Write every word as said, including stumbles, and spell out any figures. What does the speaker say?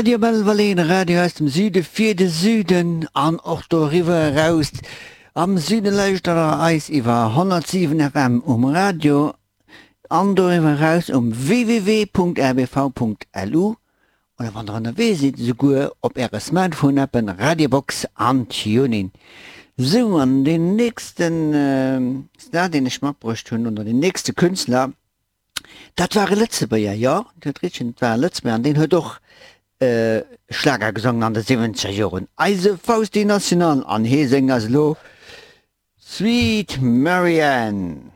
Radio Belval, de Radio aus dem Süde fir de Süden an och doriwwer eraus. Am Süde lauschtert der eis iwwer honnertsiwen F M um Radio an doriwwer eraus um W W W Punkt R B V Punkt L U oder wann der ënnerwee sidd, souguer op äre Smartphone-Appen Radiobox an TuneIn. Sou, an deen nächsten Star, deen ech matbruecht hunn, oder deen nächste Künstler, dat war e Lëtzebuerger, jo, Dir hutt richteg, et war e Lëtzebuerger an deen huet och Schlager gesongen an de siwwenzeger Joren, eise Fausti National, an hee séngt eis elo Sweet Marianne.